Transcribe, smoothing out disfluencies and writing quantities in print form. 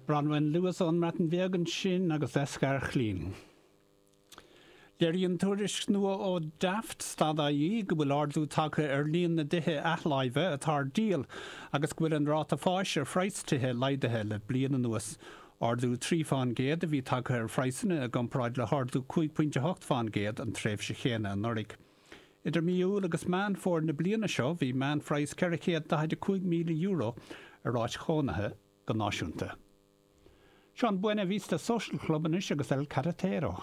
Bronwen Lewis ón mBreatain Bheag ansin agus Esgair Llŷn. Léiríonn tuairisc nua ó Daft, Stat.ie, go bhfuil ardú tagtha ar líon na dtithe athláimhe atá ar díol agus go bhfuil an ráta fáis ar phraghas tithe laghdaithe le bliain anuas. Ardú 3 fán gcéad a bhí tagtha ar phraghsanna i gcomparáid le hardú 5.8 fán gcéad an tréimhse chéanna anuraidh. Idir mí Iúil agus Meán Fómhair na bliana seo bhí meánphraghas €445,000 ar áit chónaithe go náisiúnta. Seo an Buena Vista Social Club anois agus El Carretero.